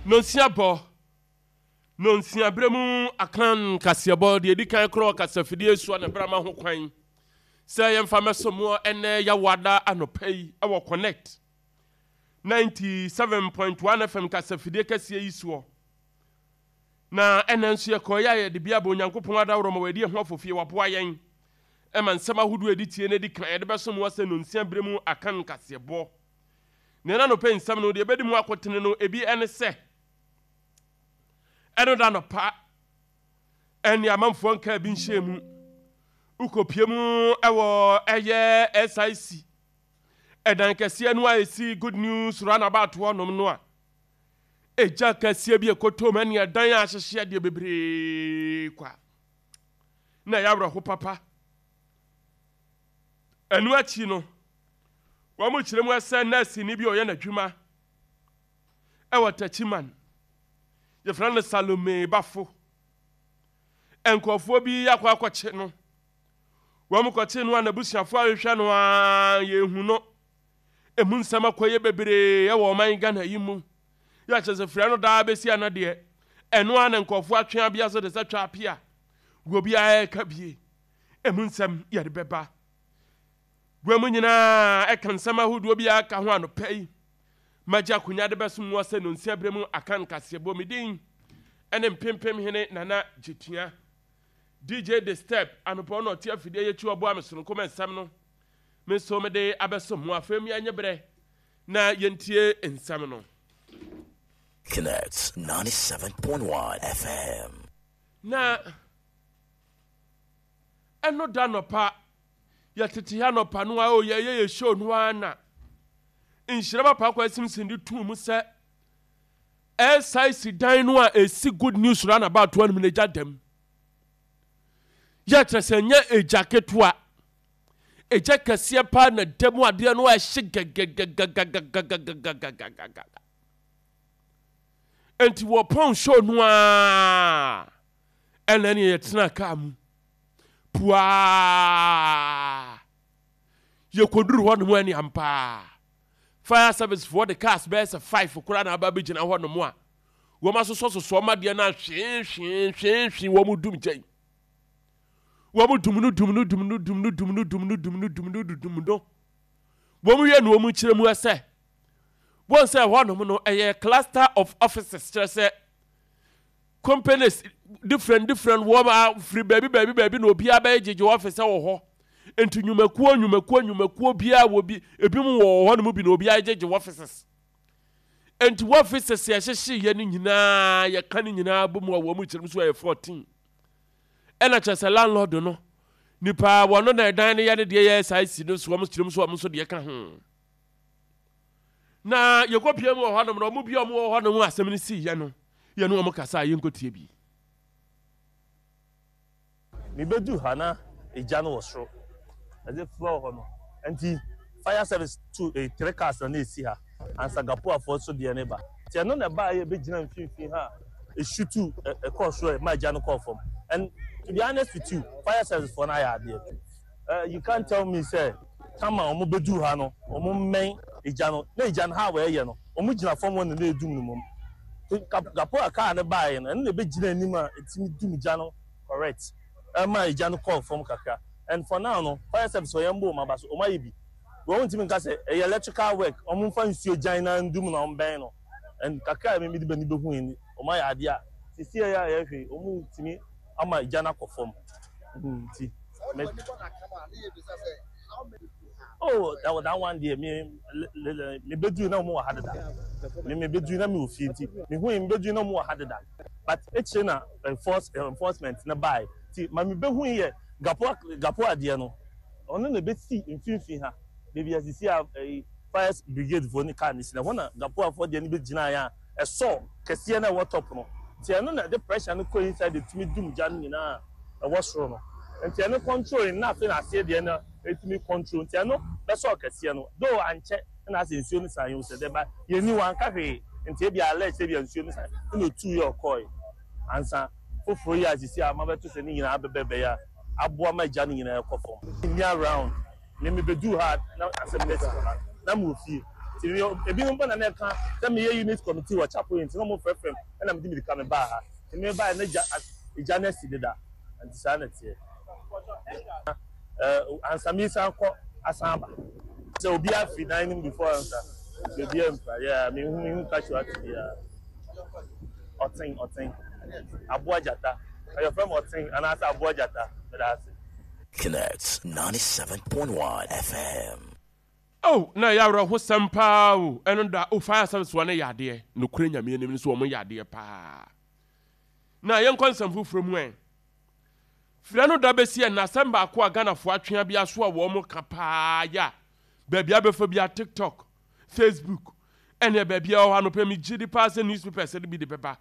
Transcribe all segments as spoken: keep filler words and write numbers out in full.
Nonsia bɔ, nonsia berɛ mu Akan kaseɛbɔ deɛ ɛdi kan korɔ kasafidie soɔ na berɛ ma ho kwan sɛ yɛmfa mɛso moɔ ɛnɛ Yawada anɔpa yi ɛwɔ Connect ninety-seven point one F M kasafidie kɛseɛ yi soɔ. Na ɛnɛ nso yɛkɔɔyɛ a yɛde bi abɔ Onyankopɔn adaworɔ ma wɔadi ɛho afofie, waboa yɛn ɛma nsɛm ahodoɔ ɛdi tie no adi kan yɛde bɛso moɔ sɛ nonsia berɛ mu Akan kaseɛbɔ. Na ɛna nɔpɛ nsɛm no deɛ ɛbɛdi mu akotene no ebi ɛne sɛ ɛno da nɔpa ɛne amanfoɔ nkaa bi nhyɛ mu wokɔpie mu ɛwɔ ɛyɛ S I C ɛdan kɛseɛ no a ɛsi Good News roundabout hɔnom no a ɛgya kɛseɛ bi ɛkɔtɔ mu ɛne ɛdan a ahyehyɛ deɛ bebree kwa na ɛyɛ awerɛho papa. Ɛno akyi no wɔn mo kyerɛ mu sɛ nɛɛseni bi a ɔyɛ n'adwuma ɛwɔ Takyiman, yɛfrɛ no Salome Bafo, nkurɔfoɔ bi akɔ akɔkye no. Wɔn kɔkye no a n'abusuafoɔ ahwehwɛ no a yɛhu no. Emu nsɛm akɔyɛ bebree ɛwɔ ɔman Ghana yi mu. Yɛ akyerɛ sɛ fira no daa bɛsi ana deɛ ɛno a na nkurɔfoɔ atwe abea so de sɛ twa apia wɔ obiara ɛka bie. Emu nsɛm yɛde bɛba gua mu nyinaa ɛka nsɛm ahodoɔ bi aka ho anɔpa yi. Magye akonnwa de bɛsom wɔ sɛ nonsia berɛ mu aka nkaseɛbɔ. Me din ɛne Mpempem Hene Nana Gyetua. D J The Step anɔpɔ na ɔte afidie yɛkyi ɔboa me sononko ma nsɛm no me nso mede abɛsom mo. Afei mi anyɛ berɛ na yɛntie nsɛm no. Connect ninety-seven point one F M. Na ɛno da nɔpa yɛtete ha nɔpa no a o yɛyɛ yɛ show no ara na nhyira papa akɔ asimsim de tuu mu sɛ S I C dan no a ɛsi Good News roundabout no mu no agya dam. Yɛkyerɛ sɛ nyɛ egya ketewa, egya kɛseɛ paa na da mu adeɛ no a ɛhye gɛgɛgɛgɛgɛgɛgɛgɛgɛgɛgɛgɛ. Nti wɔpɔn show no a ɛna ne yɛtena kaa mu puaa yɛkɔduru hɔ nom. Ɛne ampaa fire service foɔ de cars bɛyɛ sɛ five koraa na aba bɛgyina hɔ nom a wɔn asosɔsosɔ ɔmo adeɛ no ahwee hwee hwee hwee. Wɔn dum gyɛn, wɔn dum no dum no dum no dum no dum no dum no dum no dum no dum no. Wɔn wie no wɔn kyerɛ mu ɛsɛ wɔn sɛ hɔnom no ɛyɛ cluster of offices, kyerɛ sɛ companies different different wɔn a firi baabi baabi baabi na obiara bɛyɛ gyegye office wɔ hɔ. Nti nnwumakuo nnwumakuo nnwumakuo biara wɔ bi, ebi mu wɔ hɔ nom bi na obiara gyegye offices. Nti offices yɛhyehyɛ yɛ no nyinaa, yɛka no nyinaa bɔ mu a wɔn mu kyerɛ mu so ɛyɛ fourteen. Ɛna kyerɛ sɛ landlord no nipa wɔn na ɛdan no yɛ ne deɛ yɛ saa si no so, wɔn kyerɛ mu so wɔn nso deɛ ka ho. Na yɛkɔ pie mu wɔ hɔnom na wɔn bi a wɔn wɔ hɔnom asɛm no si yɛ no yɛ no wɔn kasa a yɛnkɔ tie bi. Mebɛdu ha na egya no wɔ soro, ɛde floor hɔ no. Nti fire service two, eh, three cars na na esi ha ansa Gapoafoɔ nso deɛ ne ba. Nti ɛno na ɛbaa yɛ bɛgyina mfimfini ha a esutu ɛkɔɔ soro ɛma egya no kɔɔ fam. And to be honest with you, fire service foɔ no ayɛ adeɛ. uh, you can't tell me sɛ tama wɔn bɛdu ha no wɔn mmɛn egya no na egya no ha a wɔyɛ no wɔn gyina fam hɔ na na edum no mom. Gapoa kaa no baeɛ no, ɛno na ɛbɛgyina anim a ɛtumi dum gya no correct ɛma egya no kɔɔ fam kakra. And for now no, fire service wɔyɛ mbɔ wɔn aba so, wɔn ayɛ bi. Wɔn ntumi nka sɛ ɛyɛ electrical work, wɔn mfa nsuo gyan na ndum na wɔn bɛn no. And kakra a mímí de bɛ ni bɛ hu yi ni wɔn ayɛ adeɛ a sisi yɛ a yɛhwɛ wɔn ntumi ama egya no akɔ fam nti mɛ oh, that, that one deɛ, me me bɛduru na wɔn wɔ ha deda. Me me bɛduru na me wɔ fie nti me hu yi me bɛduru na wɔn wɔ ha deda, but ekyire na enforce enforcement ne baa ti ma me bɛhu yi yɛ gapo gapo adeɛ no, ɔno na ebesi mfimfini ha beebi a sisi a ɛyi fire brigade foɔ ne car ne si na hɔ na gapoafoɔ deɛ no bɛ gyina yɛ a ɛsɔ kɛseɛ na ɛwɔ top no. Nti ɛno na ɛde pressure no kɔ inside etumi dum gya no nyinaa ɛwɔ soro no. Nti ɛno control na afei na aseɛ deɛ no etumi control. Nti ɛno bɛsɔ kɛseɛ no though ankyɛ ɛna asɛ nsuo no san yɛ sɛ dɛba yɛni wanka hwee. Nti ebi alert ebi nsuo no san ɛna otu yɛ ɔkɔɛ ansa foforɔ yi a sisi a mabɛto sɛ ne nyinaa bɛbɛ a aboa ma gya no nyinaa ɛkɔ fam. Nni around me me bɛdu ha na asɛm no asi wɔ ha na mo wɔ fie. Nti Nti ebinom bɔ na na ɛka sɛ meyɛ unit committee wɔ Chapel, nti na ɔmo frɛfrɛ m, ɛna mede mirika me baa ha. Nti me baa na gya gya no asi deda, nti saa na teɛ. ɛɛ ansa mi san kɔ asan aba sɛ obi afi dan no mu before ansa, nti obi ampa yɛ mehu mehu casualty biara. Ɔten ɔten aboa gyata, ɛyɛ fɛm ɔten anaasɛ aboa gyata. Mɛda ase. Connect ninety-seven point one F M. Oh, na ɛyɛ awerɛhosɛm paa o. Ɛno da o, fire service wɔ ne yɛ adeɛ nokorɛ Nyame anim no so, wɔn yɛ adeɛ paa. Na yɛnkɔ nsɛm foforɔ mu. Ɛ frɛ no da bɛsi ɛ na asɛm baako a Ghanafoɔ atwea bi aso a wɔn ka paa yɛ a baabi abɛfa bi a TikTok, Facebook, ɛne baabi a ɛwɔ hɔ anɔpɛ mi gye di paa sɛ newspapers de bi de bɛba.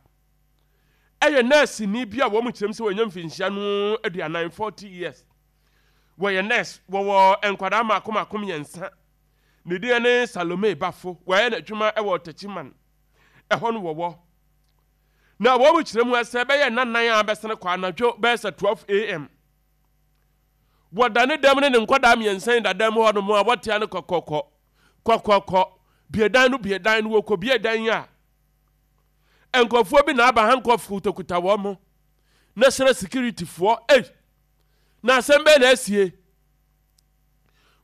Ɛyɛ nɛɛseni bi a wɔn kyerɛm sɛ wɔnya mfinhyia no aduanan, forty years. Wɔyɛ nurse, wɔwɔ nkwadaa mako mako mmiɛnsa. Ne din ne Salome Bafo. Wɔyɛ n'adwuma wɔ Tɛkyiman ɛhɔ no wɔwɔ. Na wɔn kyerɛ mu sɛ bɛyɛ nnanan a bɛsene kɔ anadwo bɛyɛ sɛ twelve a m, wɔda ne dɛm ne ne nkwadaa mmiɛnsa yi da dɛm hɔ nom a wɔtea no kɔkɔkɔ kɔkɔkɔ, bie dan no, bie dan no. Wɔkɔ bie dan yi a, nkurɔfoɔ bi na aba, handcuff kutakuta wɔn mo. National security foɔ ei, na asɛm bɛyɛ na asie.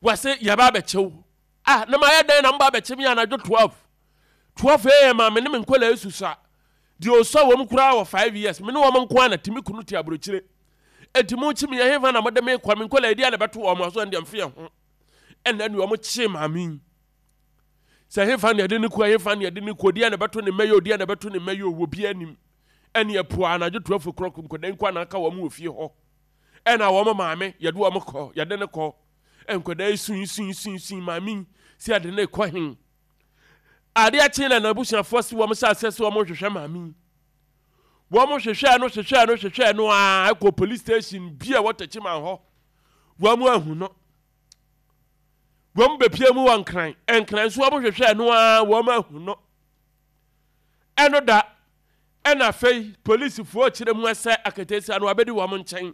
Wɔse yɛba abɛkyew ah, na mayɛ dɛn na mba abɛkye me anadwo twelve twelve a m a me ne me nkɔla esusa deɛ ɔsɔ wɔm koraa wɔ five years, me ne wɔn nko ara na tumi kunu te aburokyire. Eti mo kyi me yɛ hefa na mo de me kɔ? Me nkɔla edi a na bɛto wɔn aso ɛn deɛ mfe yɛ ho. Ɛna ne wɔn kye maame yi sɛ hefa na yɛde ne kɔ, hefa na yɛde ne kɔ, odi a na bɛto ne mma yi, odi a na bɛto ne mma yi, owó bi anim. Ɛne ɛpo anadwo twelve o'clock, nkɔda nkɔ anaka wɔn wɔ fie hɔ. Ɛna wɔn maame yɛde wɔn kɔ, yɛde ne kɔ. Nkɔda yi sun sun sun sun maame yi sɛ yɛde ne kɔ hen. Adeɛ kye na n'abusuafoɔ si wɔn hyɛ aseɛ sɛ wɔn hwehwɛ maame yi. Wɔn hwehwɛ no, hwehwɛ no, hwehwɛ no a ɛkɔ police station bi a ɛwɔ Tɛkyiman hɔ, wɔn ahu no. Wɔn bɛpie mu wɔ Nkran, Nkran nso wɔn hwehwɛ no a wɔn ahu no. Ɛno da ɛna afei polisifoɔ kyerɛ mu sɛ aketesia no abɛdi wɔn nkyɛn.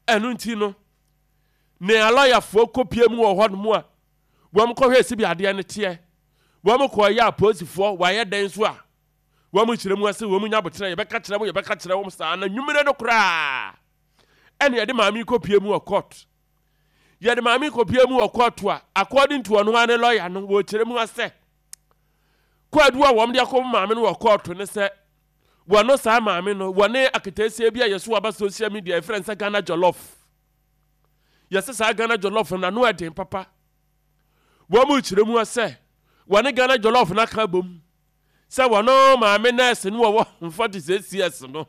Ɛno nti no ne alɔyafoɔ kɔpie mu wɔ hɔnom a wɔn kɔhwɛ esi bi adeɛ no teɛ. Wɔn kɔɔ yɛ apolisifoɔ wɔayɛ dɛn so a wɔn kyerɛ mu ase, wɔn nya abotire, yɛbɛka kyerɛ mo, yɛbɛka kyerɛ wɔn saa. Na nwumire no koraa ɛna yɛde maame kɔpie mu wɔ court. Yɛde maame kɔpie mu wɔ court a, according to ɔno ara ne lawyer no, wɔkyerɛ mu asɛ kwaadu a wɔn de akɔ maame no wɔ court ne sɛ wɔno saa maame no wɔne aketeesia bi a yɛso aba social media yɛfrɛ no sɛ Ghana Jollof. Yɛsɛ saa Ghana Jollof no n'ano ɛden papa. Wɔn mu kyerɛ mu sɛ wɔne Ghana Jollof no aka bom sɛ wɔno maame nurse no wɔwɔ forty six years no,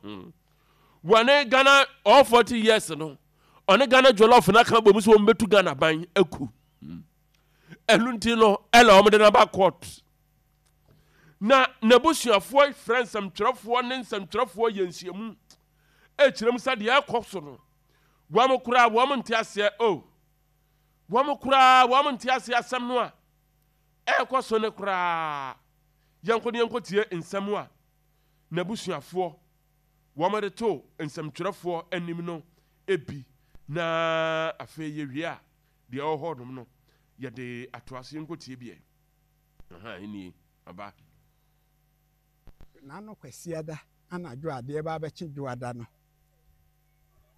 wɔne Ghana all forty years no, ɔne Ghana Jollof no aka bom sɛ wɔn bɛtu Ghana ban aku. Ɛno nti no ɛna wɔn de no aba court. Na n'abusuafoɔ frɛ nsɛmtwerɛfoɔ ne nsɛmtwerɛfoɔ yɛ nhyiamu ɛkyerɛ mu sɛ deɛ ɛkɔ so no, wɔn koraa wɔn nte aseɛ o, wɔn koraa wɔn nte aseɛ asɛm no a ɛrekɔ so no koraa. Yɛnkɔ ne yɛnkɔ tie nsɛm a n'abusuafoɔ wɔn de to nsɛmtwerɛfoɔ anim no ebi, na afei yɛwie a, deɛ ɛwɔ hɔ nom no yɛde ato ase. Yɛnkɔ tie bi ɛ aha nie aba. N'ano Kwasiada anadwo adeɛ ba abɛkye Dwoada no,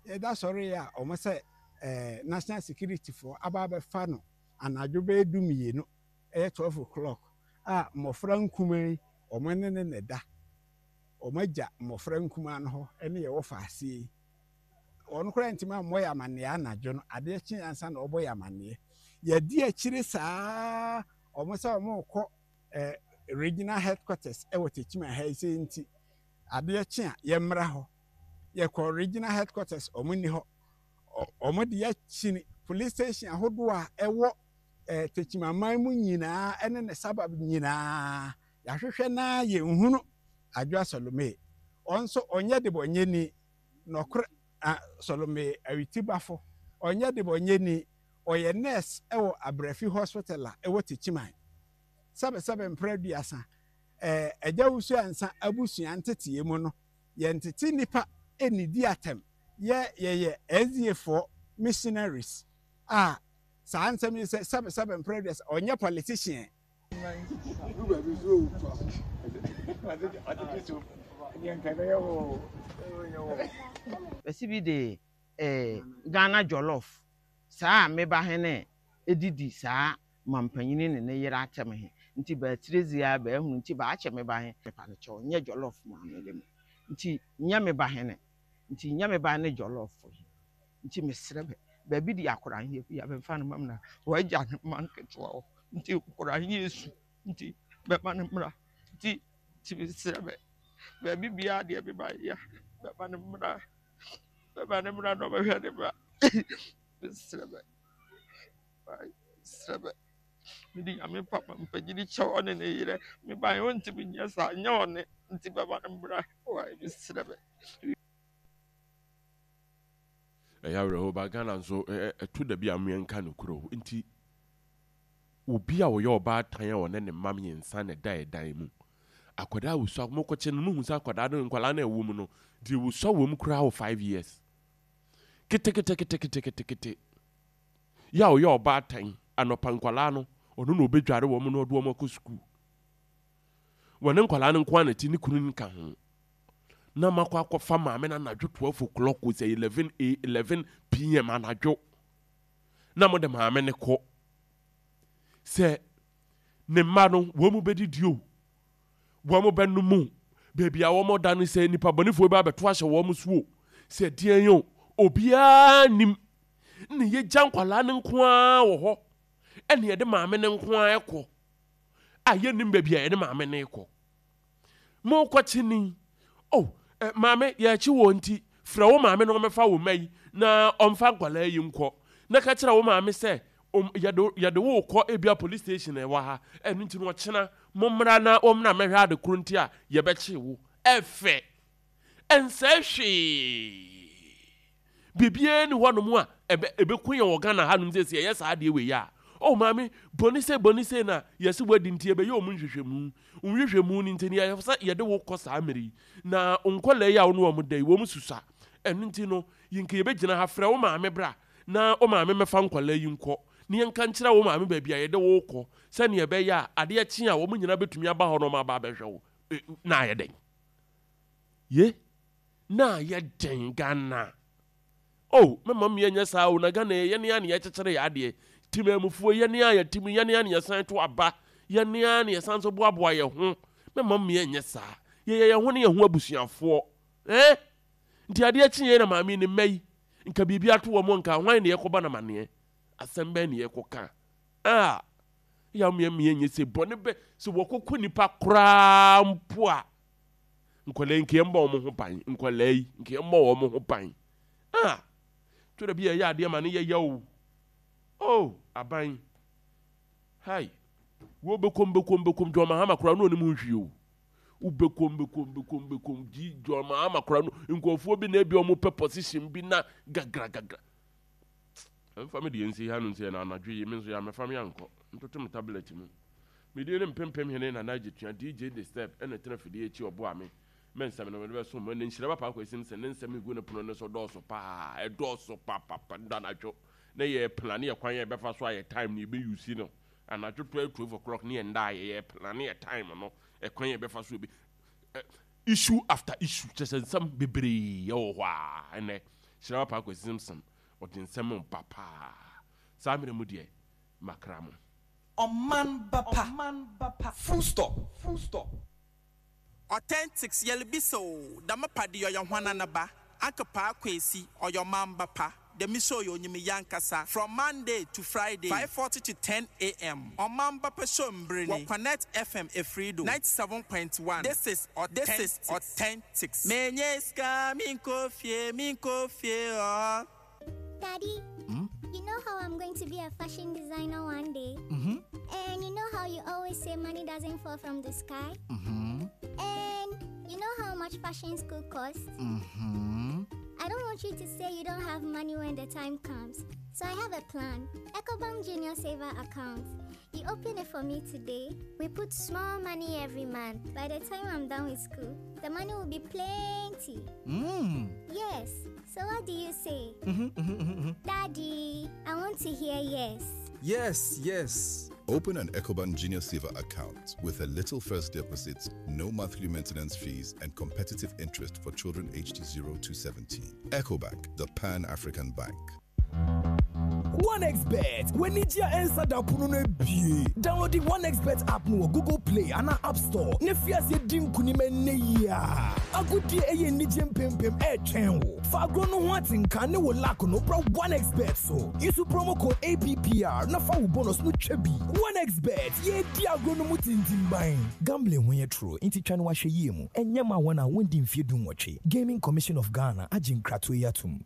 yɛda sɔre yɛ a, ɔmo sɛ ɛɛ national security foɔ aba abɛfa no anadwo bɛyɛ du mmienu, ɛyɛ twelve o'clock a mmɔfra nkumaa yi ɔmo ne ne ne da. Ɔmo agya mmɔfra nkumaa no hɔ ɛne yɛwɔ faase yi. Ɔno koraa ntumi ammɔ yɛ amanneɛ anadwo no. Adeɛ kye ansa na ɔbɔ yɛ amanneɛ. Yɛdi akyire saa, ɔmo sɛ ɔmo kɔ ɛɛ regional headquarters ɛwɔ Techiman ha yi sɛ nti adeɛ kye a yɛmmra hɔ. Yɛkɔ regional headquarters, ɔmo nni hɔ. Ɔmo de yɛakyini police station ahodoɔ a ɛwɔ ɛɛ Techiman mu nyinaa ɛne ne suburb nyinaa. Yɛahwehwɛ naa yɛnhunu Adwoa Salome. Ɔno nso ɔnyɛ de bɔnyɛni nɔkorɛ a Salome Awitibafo ɔnyɛ de bɔnyɛni. Ɔyɛ nurse ɛwɔ Abrafi Hospital a ɛwɔ Techiman. Sɛbɛsɛbɛ mpere aduasa, ɛɛ Agya Wusu Ansa abusua nteteɛ mu no, yɛntete nipa ɛnidi atɛm. Yɛ yɛyɛ S D A foɔ missionaries a saa nsɛm yi sɛ sɛbɛsɛbɛ mpere aduasa, ɔnyɛ politician. Bɛsi bi de eh, Ghana jollof saa a meba he ne edidi saa mampanyini ne ne yere atɛm he nti bɛatire zi a bɛahunu nti baakyɛ meba he mepa no kyɛw nyɛ jollof maame de me nti nyɛ meba he ne nti nyɛ meba ne jollof he nti mesrɛ bɛ baabi de akora he bi a bɛmfa no mam na wagya ne mma nketewa hɔ nti akora he esu nti bɛma no mmra nti nti mesrɛ bɛ baabi biara deɛ meba yɛ bɛma no mmra bɛma no mmra na ɔbɛhwɛ ne ba mesrɛ bɛ mesrɛ bɛ mede Nyame papa mpanyini kyɛw ɔne ne yerɛ meba yɛ ɔntumi nyɛ saa nyɛ ɔne nti bɛma no mmra wae mesrɛ bɛ. Ɛyɛ awerɛhoɔ ba Ghana nso ɛto da bi a mmeɛnka no kuro nti obi a ɔyɛ ɔbaatan a ɔne ne mma mmiɛnsa na ɛda ɛdan mu akwadaa wosua mokɔkyɛ no muhu sɛ akwadaa no nkwadaa no ɛwɔ mu no deɛ wosua wɔ mu koraa wɔ five years keteketeketeketekete yɛ a ɔyɛ ɔbaatan anɔpa nkwadaa no ɔno na ɔbɛdware wɔn na ɔde wɔn akɔ sukuu wɔne nkwadaa no nko ara na ti ne kunu nka ho na makɔ akɔfa maame no anadwo twelve o'clock sɛ eleven a eleven pm anadwo na mo de maame no kɔ sɛ ne mma no wɔn mu bɛdidi o wɔn mu bɛnum o beebi a wɔn da no sɛ nipa bɔnifoɔ bi abɛto ahyɛ wɔn so o sɛ deɛn o obiara nim ne yɛgya nkwadaa no nko ara wɔ hɔ ɛne yɛde maame no nko ara kɔ a yɛnim baabi a yɛde maame no kɔ mo kɔkye ni oh eh, maame yɛakyi wɔ nti frɛ wo maame na ɔmɛfa wo mma yi na ɔmfa nkwadaa yi nkɔ na ka kyerɛ wo maame sɛ yɛde yɛde wo kɔ ebia police station ɛwɔ ha ɛno nti no ɔkyena mommra na ɔmmra mɛhwɛ ade koro nti a yɛbɛkye wo ɛfɛ ɛnsɛ hwee biribiara ni hɔnom a ɛbɛ ɛbɛku yɛn wɔ Ghana hanom sɛ sɛ yɛyɛ saa adeɛ wei a oh maame bɔne sɛ bɔne sɛ na yɛsɛ wadi nti yɛbɛyɛ ɔmo nhwehwɛmu nhwehwɛmu no nti no yɛyɛ sɛ yɛde wo kɔ saa mmere yi na nkɔlaa yi a wo ne wɔn da yi wɔn susa ɛno nti no yɛnka yɛbɛgyina ha frɛ wo maame bra na wo maame mɛfa nkɔlaa yi nkɔ na yɛnka nkyerɛ wo maame baabi a yɛde wo kɔ sɛnea ɛbɛyɛ a adeɛ kye a wɔn nyinaa bɛtumi aba hɔ na wɔn aba abɛhwɛ wo na ayɛ dɛn ye na ayɛ dɛn Ghana oh mɛma mmea nyɛ saa o na Ghana yɛ ne a ne yɛkyekyere yɛ adeɛ timamufoɔ yɛ ne a yɛtim yɛ ne a ne yɛsan to aba yɛ ne a ne yɛsan so boaboa yɛ ho mɛma mmea nyɛ saa yɛyɛ yɛn ho ne yɛn ho abusuafoɔ eh nti adeɛ kye yɛn na maame ne mma yi nka biribi ato wɔn nka hwan ne yɛkɔba na maneɛ asɛm bɛn ne yɛkɔka a yɛ mmea mmea nyɛ sɛ bɔne bɛ sɛ wɔkɔkɔ nipa koraa mpo a nkɔlaa yi nka yɛn bɔ wɔn ho ban nkɔlaa yi nka yɛn bɔ wɔn ho ban a to da bi yɛ adeɛ ma ne yɛ yɛ o oh aban hai wo bɛkɔm bɛkɔm bɛkɔm John Mahama koraa no onim nhwi o wo bɛkɔm bɛkɔm bɛkɔm bɛkɔm gyi John Mahama koraa no nkurɔfoɔ bi na ebi wɔn pɛ position bi na gagra gagra ɛnfa mi deɛ nsi ha no nsi na anadwo yi mi nso yɛ amɛfa mi ankɔ ntoto mi tablet mu mi di ne mpempem hene na n'agye tua D J the step ɛna tena fidie akyi ɔboa mi mɛ nsɛm no mɛde bɛ so mo ne nhyira papa akɔ esim sɛ ne nsɛm egu ne pono ne so dɔɔso paa ɛdɔɔso papapa ndo anadwo ne yɛ plan yɛ kwan yɛ bɛfa so a yɛ time ne yɛ bɛ use no anadwo twelve twelve o'clock ne yɛ nda yɛ yɛ plan yɛ time no ɛkwan yɛ bɛfa so bi issue after issue kyerɛ sɛ nsɛm bebree ɛwɔ hɔ a ɛnɛ hyira papa akɔ esim sɛm ɔde nsɛm ba paa saa mmerɛ mu deɛ makra mo. Ɔman ba pa. Full stop. Full stop. Authentics yɛlebisa o dama pade ɔyɛ hwana ba Uncle Paa Kwesi ɔyɛ ɔman ba pa dɛm show yɛ onyim yankasa from Monday to Friday five forty to ten a m. Ɔman ba pa show mbere ni wɔ Connect F M Efrido ninety-seven point one. This is this is Authentics. Menye sika minko fie minko fie oh. Daddy, Hmm? you know how I'm going to be a fashion designer one day? Mm-hmm. And you know how you always say money doesn't fall from the sky? Mm-hmm. And you know how much fashion school costs? Mm-hmm. I don't want you to say you don't have money when the time comes. So I have a plan. EcoBank Junior Saver account. You open it for me today. We put small money every month. By the time I'm done with school, the money will be plenty. Mm. Yes. So what do you say? Mm-hmm, mm-hmm, mm-hmm. Daddy, I want to hear yes. Yes, yes. Open an Ecobank Junior Saver account with a little first deposit, no monthly maintenance fees, and competitive interest for children aged zero to seventeen. Ecobank, the Pan African Bank. OneXBet, w'ani gye a ɛnsa da pono no abie. Download the OneXBet app no wɔ Google Play anaa App Store na fi ase di nkonim ɛnnɛ yi a. Agodie ɛyɛ anigye mpempem ɛretwɛn wo. Fa agorɔ no ho atenka ne wo luck no bra OneXBet so. Use promo code A P P R na fa wo bonus no twa bi. OneXBet, yɛdi agorɔ no mu tintimban. Gambling ho yɛ toro nti twa no wahwɛ yie mu. Ɛnyɛ ma wɔn a wɔndi mfeɛ du nwɔtwe. Gaming Commission of Ghana agye nkratoɔ yi atom.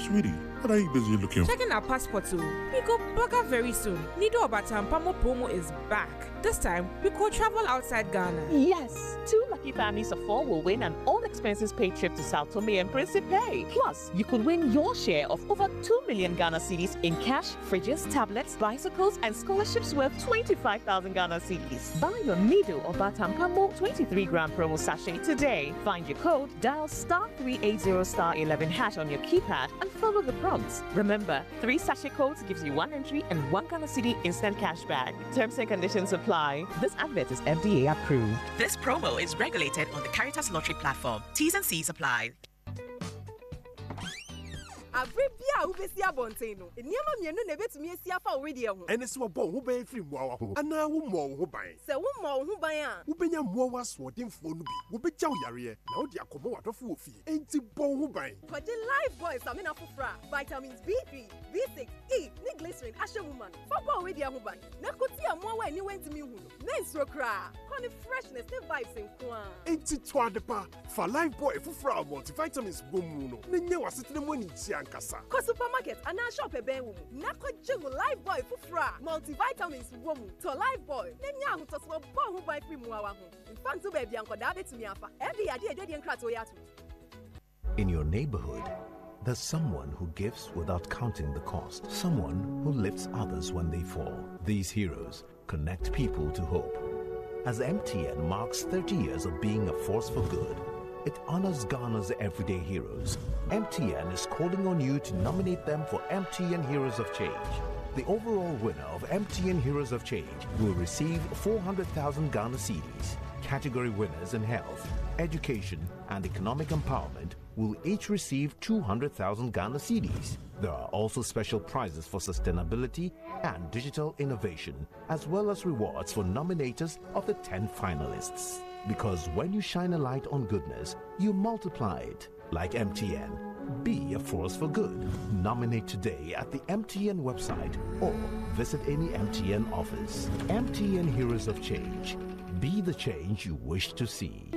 Sweetie, what are you busy looking for? Checking our passports, oh. We go bugger very soon. Nido Obatanpa Mo promo is back. This time, we could travel outside Ghana. Yes, two lucky families of four will win an all expenses paid trip to Sao Tome and Principe. Plus, you could win your share of over two million Ghana cedis in cash, fridges, tablets, bicycles, and scholarships worth twenty-five thousand Ghana cedis. Buy your Nido Obatanpa Mo twenty-three gram promo sachet today. Find your code, dial star three eight zero star eleven hash on your keypad, and follow the prompts. Remember, three sachet codes gives you one entry and one Ghana cedi instant cash back. Terms and conditions apply. This advert is F D A approved. This promo is regulated on the Caritas Lottery platform. T's and C's apply. Abere bi a wobɛsi abɔnten no, nneɛma mmienu na ebetumi esi afa wo wedeɛ ho. Ɛne sɛ wɔbɔ wo ho ban firi mmoawa ho anaa wommɔ wo ho ban. Sɛ wommɔ wo ho ban a, wobɛnya mmoawa asoɔdenfoɔ no bi, wobɛgya wo yareɛ na wode akɔmmɔ w'adɔfo wɔ fie. Enti bɔ wo ho ban. Kɔgye Lifebuoy samina foforɔ a vitamins B three, B six, E ne glycerin ahyɛ mu ma no fa bɔ wo wedeɛ ho ban na ko tia mmoawa a aniwa ntumi nhu no. Mensuro koraa, kɔ ne freshness ne vibes nko a. Enti tɔ ade pa fa Lifebuoy foforɔ a multivitamins wɔ mu no na nya w'asetena mu anigye ankasa. Kɔ supermarket anaa shop ɛbɛn wo mu na kɔgye wo Lifebuoy foforɔ a multivitamins wɔ mu. Tɔ Lifebuoy na nya ahotɔsoɔ bɔ wo ho ban firi mmoawa ho. Mfa nto baabi a nkɔdaa bɛtumi afa. Ɛde adeɛ adwadie nkratoɔ yi ato. In your neighborhood, there's someone who gives without counting the cost, someone who lifts others when they fall. These heroes connect people to hope. As M T N marks thirty years of being a force for good, it honors Ghana's everyday heroes. M T N is calling on you to nominate them for M T N Heroes of Change. The overall winner of M T N Heroes of Change will receive four hundred thousand Ghana cedis. Category winners in health, education, and economic empowerment will each receive two hundred thousand Ghana cedis. There are also special prizes for sustainability and digital innovation, as well as rewards for nominators of the ten finalists. Because when you shine a light on goodness, you multiply it. Like M T N. Be a force for good. Nominate today at the M T N website or visit any M T N office. M T N Heroes of Change. Be the change you wish to see.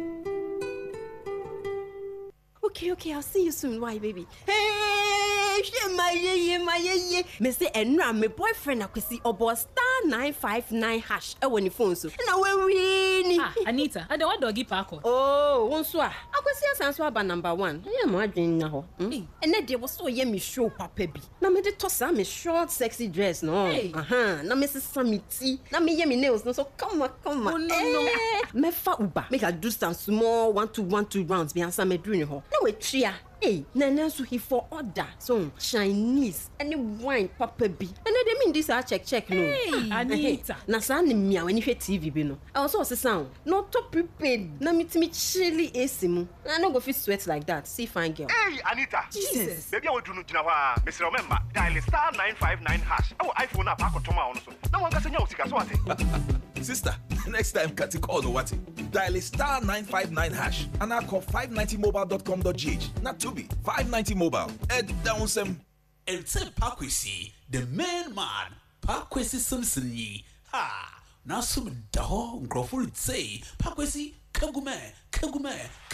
Okay, okay, I'll see you soon. Why, baby? Hey, hwɛ ma yeye ma yeye. Mese ɛnura me boyfriend Akwasi ɔbɔ star nine five nine hash ɛwɔ ne phone so. Ɛna wawie ni. Ah, Anita, ada wa doggy paako. Oh, wo nso a. Akwasi asan so aba number one. Ɛyɛ mo adwene nya hɔ. Hmm? Ɛnɛ deɛ wɔ so ɔyɛ me show papa bi. Na mede tɔ saa me short sexy dress no. Hey. Aha, na me sesa me ti. Na meyɛ me nails no so kama kama. Oh, no, no. Eh, mɛfa Uber. Make I do some small one two one two rounds bi ansa mɛduru ne hɔ. Na watua. Hey, na ɛnɛ nso he for order so Chinese ɛne wine papa bi. Ɛnɛ de mi ndi saa check check no. Hey, Ah, Anita. ɛhɛ. Na saa ne mmea w'ani hwɛ T V bi no. Ɛwɔ sɛ ɔsesa o. Na ɔtɔ prepaid na metumi chilli A C mu. Na I no go fit sweat like that. See fine girl. Hey, Anita! Jesus. Baabi a waduru no gyina hɔ a, mesrɛ wo mɛmma. Dial star nine five nine hash ɛwɔ iPhone a paakɔtɔm a wo no so. Na wankasa nya wo sika so ate. Sister, next time cut call no what? Dial star nine five nine hash and I call five ninety mobile dot com dot G H. Not to be five ninety mobile. Ed down some. Ɛnte Pakwesi, the main man, Pakwesi Simpson yi ha n'asom da hɔ nkurɔfo retsei Pakwesi kagumɛ kagumɛ.